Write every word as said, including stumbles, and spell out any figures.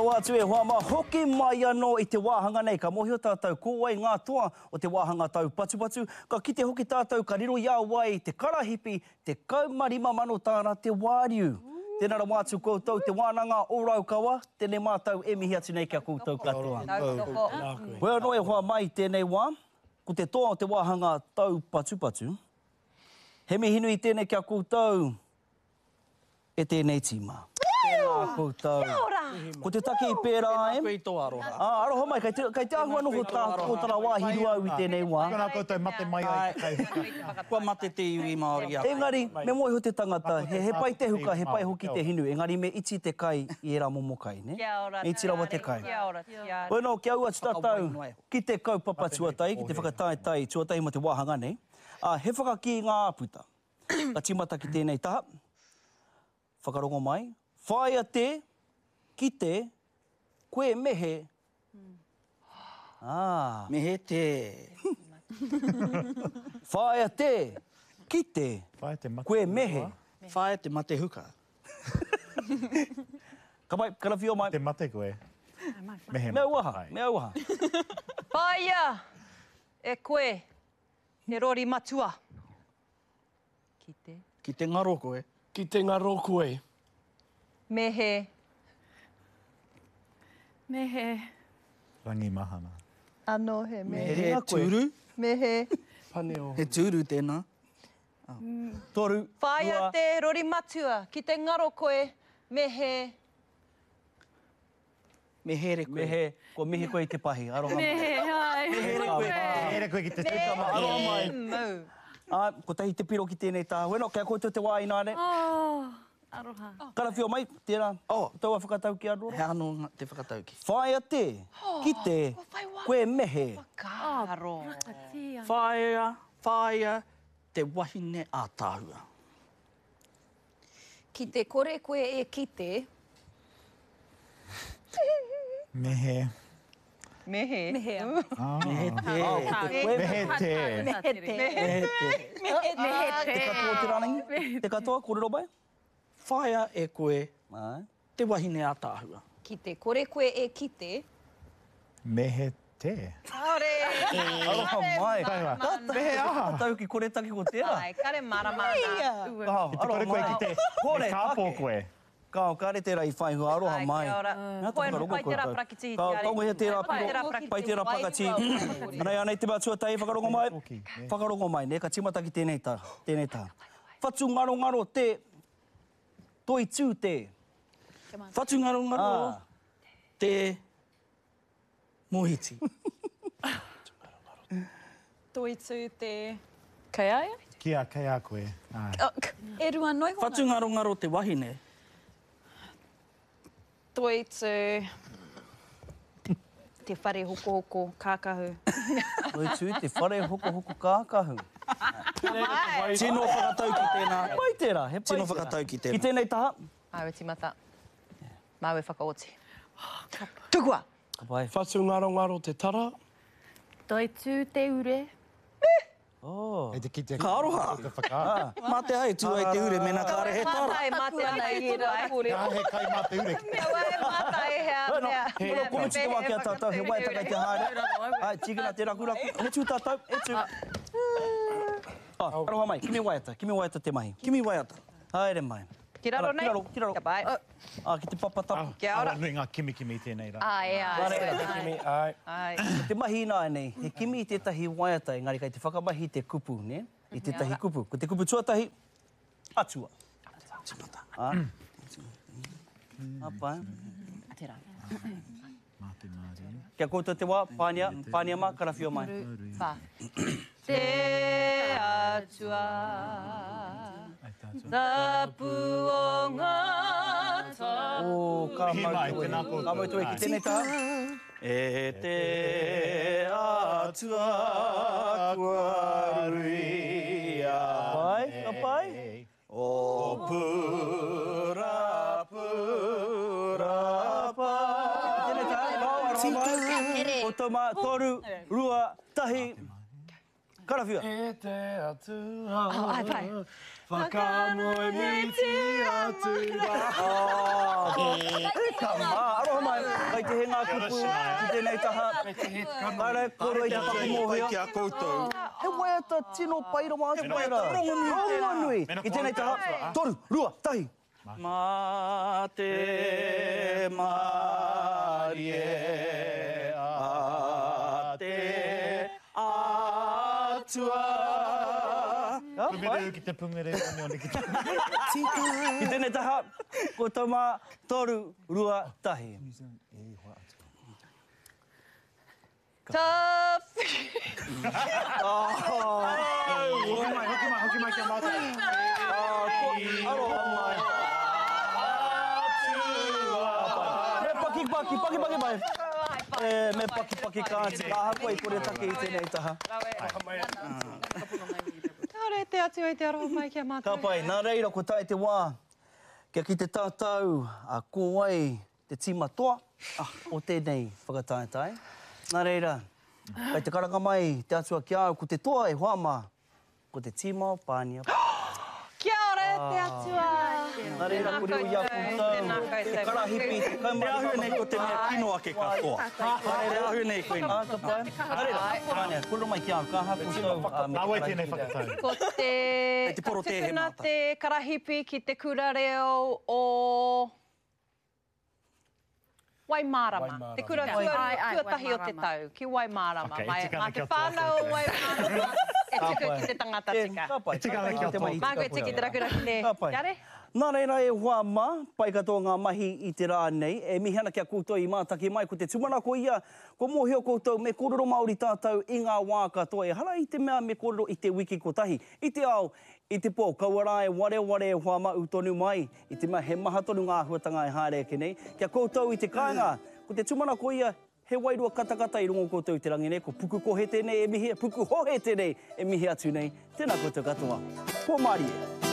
rawa atu e hoa mā, hoki mai anō i te wāhanga nei. Ka mōhio tātou ko wai ngā toa o te wāhanga taupatupatu. Ka kite hoki tātou ka riro i a wai te karahipi tekau ma rima mano tāra te wāriu. Tēnā rawa atu koutou te wānanga o Raukawa, tēnei mātou e mihi atu nei ki a koutou katoa. Hoi anō e hoa mai i tēnei wā, ko te toa o te wāhanga taupatupatu. He mihi nui tēnei ki a koutou e tēnei tīma. Tēnā koutou. Kia ora! Ko te take i pērā ai. Tēnā koe i tō aroha. Ā, aroha mai, kei te, kei te āhua noho tā kōtara wāhi rua au i tēnei wā. Tēnā koutou mate mai ai te kai. Kua mate te iwi Māori i a koe. Engari, me mōhio te tangata, he, he pai te huka, he pai hoki te hinu, engari me iti te kai i ērā momo kai, nē? Kia ora, Me iti rawa te kai. Kia ora, kia ora. Bueno, kia ū atu tātou ki te kaupapa tuatahi, ki te whakataetae tuatahi mō te wāhanga nei. Ā, he whakakī ngā āputa. Ka tīmata ki tēnei taha. Whakarongo mai. Whāia te, ki te, koe me he. Ā. Me he te. Whāia te, ki te, koe me he. Whāia te mate huka. Ka pai, karawhio mai. Te mate koe. Me he Me auaha, me auaha. Whāia e koe te rori matua. Ki te. Ki te ngaro koe. Ki te ngaro koe. Me he. Me he. Rangi mahana. Anō he me he. Me he tūru. Me he. Paneo. He tūru tēnā. Toru, Whāia rua. te rori matua, ki te ngaro koe, me he. Me here koe. Me he, kua mihi koe i te pahi, aroha mai. Me he, hai. Me here koe. Me here koe ki te Me Aroha mai. he mau. Ā, kotahi te piro ki tēnei taha. Bueno, kia koutou te wā ināne. Oh, aroha. Karawhio mai, tērā, Oh. taua whakatauki anō. He anō te whakatauki. Whāia te, ki te, koe me he. Whakaaro. Whāia, whāia te wahine ātaahua. Ki te kore koe e kite. Me he. Me he. Me he. Me he te. Me he te. Me he te. Me he te. Me he te. Te katoa te rārangi? Te katoa, kōrero mai? Whāia e koe Āe. te wahine ātaahua. Ki te kore koe e kite. Me he te. Kāore. Aroha mai. Me he aha. Whakatauki koretake ko tērā. Ai, kare marama ana. Ki te kore koe kite, me kāpō koe. Kao, kāre tērā i whai hua, aroha mai. Ai, kia ora. Nā te whakarongo Pai tērā koutou. parakitihi Ka, te ari. ka wehe tērā Pai tērā piro, parakitihi. pai tērā pakati. Anei, anei te mea tuatahi, whakarongo mai. Whakarongo mai, ne, ka tīmata ki tēnei tā, tēnei tā. Whatu ngarongaro te, toitū te. Whatu ngarongaro te mohiti. Toitū te... Kei a ia? Ki a, kei a koe. Ai. E rua noi hona. Whatu ngarongaro te wahine. Toitū te whare hokohoko kākahu. Toitū te whare hokohoko kākahu. Tino whakatauki tēnā. He pai tērā, he pai Tino tērā. whakatauki tēnā. Ki tēnei taha. Māu e tīmata. Māu e whakaoti. Tukua! Ka pai. Whatu ngarongaro te tara. Toitū te ure. Oh. Hei te kite. Ka aroha. Te whakaaro. Mā te ai, tū ai te ure, mēnā kāre he tara. Mātai, mā te ana i tū ai. Kā he kai mā te ure. Mea wai mātai he Bueno, mea. bueno, komutu te wā ki a tātou, he waiata kai te haere. Ai, tīkina te rakuraku. E tū tātou, e tū. Ah, aroha mai, kimi waiata, kimi waiata te mahi. Kimi waiata. Haere mai. Ki raro nei? Ki raro, ki raro. Ka pai. Ah, ki te papa tapu. Kia ora. Awa nui ngā kimikimi tēnei rā. Ai, ai. Kimi, ai. Ai. Ko te mahi ināianei, he kimi i tētahi waiata, engari kai te whakamahi te kupu, ne? I tētahi kupu. Ko te kupu tuatahi, atua. Tīmata. Ah. Ah, pai. Tērā. Mā te Māori. Kia koutou te wā, pānia, pānia mā, karawhio mai. Whā. Te atua. Tapu o ngā tapu. O, ka Mihi mau mai, toe. tēnā koutou. Ka mau toe ki tēnei taha. E te atua kua ruia. Pai, ka pai. O pura, pura, pa. Tēnei taha, ka aroha mai. Koutou mā, toru, rua, tahi. Karawhia. E te atua. Ai, pai. Whakamoemiti atu rā. E ka mā, aroha mai. te he ngā kupu ki tēnei taha. Kāre koro i te paku mōhio. Ki a koutou. He waiata tino pai rawa atu. He waiata rongonui. Rongonui. I tēnei taha, toru, rua, tahi. Mā te mārie a te atua. Pungere ki te pungere, oneone ki te pungere. Ki tēnei taha, ko tau mā, toru, rua, tahi. Tawhi. Hoki mai, hoki mai, hoki mai kia mātou. Aroha mai. Me paki paki, paki paki mai. E, me paki paki ka atu. Ahakoa i kore take i tēnei taha. Kāre te atua i te aroha mai kia mātou. Ka pai, nā reira ko tae te wā. Kia ki te tātou a ko wai te tīma toa o tēnei whakataetae. Nā reira, kai te karanga mai te atua ki au, ko te toa e hoa mā, ko te tīma o Pānia. Kia ora te atua. Nā reira, ko reo i a koutou, te karahipi, te kaumari. Te āhua nei ko te mea kino ake katoa. Te āhua nei koe nei. Ka pai. Nā reira, Pānia, kōrero mai ki au, ka aha koutou me te Nā wai tēnei whakatau? Ko te, te porotēhe tukuna mātou. te karahipi ki te kura reo o Waimārama. Te kura tuatahi o te tau, ki Waimārama. Okay, e tika Mā ana te kia toa whānau o koutou. Waimārama e tuku ki te tangata tika. Ka pai. E tika ana kia toa. Māku e tiki te rakuraki te Ka pai. Kare? Nā reira e hoa mā, pai katoa ngā mahi i te rā nei. E mihi ana kia koutou i mātaki mai, ko te tūmanako ia, ko mōhio koutou me kōrero Māori tātou i ngā wā katoa. Ehara i te mea me kōrero i te wiki kotahi. I te ao, i te pō, kaua rā e wareware e hoa mā u tonu mai. I te mea he maha tonu ngā āhuatanga e haere ake nei. Kia koutou i te kāinga, ko te tūmanako ia, he wairua katakata i rongo koutou i te rangi nei. Ko pukukohe tēnei e mihi, pukuhohe tēnei e mihi atu nei. Tēnā koutou katoa. Pō mārie.